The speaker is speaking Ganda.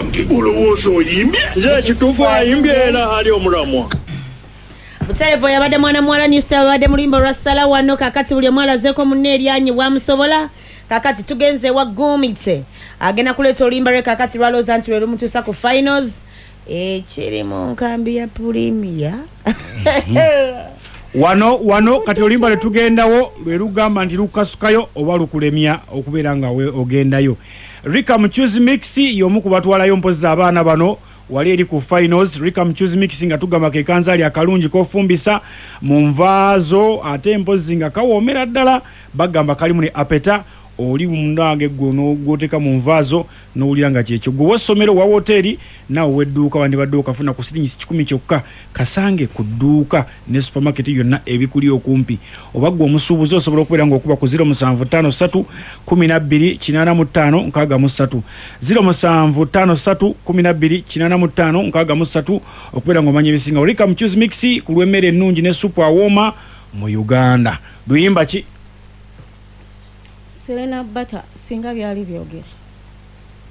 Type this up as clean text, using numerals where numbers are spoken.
Owange, olowooza oyimbye? Nze ekituufu ayimbye era ali omulamwa. Butereevu yabadde mwana muwala New Star babadde mu luyimba olwa Sala wano. Kakati buli omu alazeeko munne eryanyi bwamusobola. Kakati tugenze ewa Gumite, agenda kuleeta oluyimba lwe kakati lwalowooza nti lwe lumutuusa ku finals ekiri mu nkambi ya Pulimia. Wano kati oluyimba lwe tugendawo lwe lugamba nti lukasukayo oba lukulemya okubeera nga ogendayo. Rika Mchuzi Mix y'omu ku batwalayo mpozzi abaana bano wali eri ku finals. Rika Mchuzi Mix nga tugamba ke kanzaali akalungi k'ofumbisa mu nvaazo, ate mpozzi nga kawoomera ddala, bagamba kalimu ne apeta oli munange gwe gw'oteeka mu nvaazo n'owulira nga kyekyo. Gwe ow'essomero, owa woteeri naawe ow'edduuka wandibadde okafuna ku siringi 100 kyokka, kasange ku dduuka ne supermarket yonna ebikuli okumpi. Oba ggwe omusuubuzi osobola okubeera ng'okuba ku 0753 12 85 63, 0753 12 85 63 okubeera ng'omanya ebisingawo. Rika Mchuzi Mix ku lw'emmere ennungi ne supu awooma mu Uganda. Luyimba ki? Serena Bata, singa byali byogera.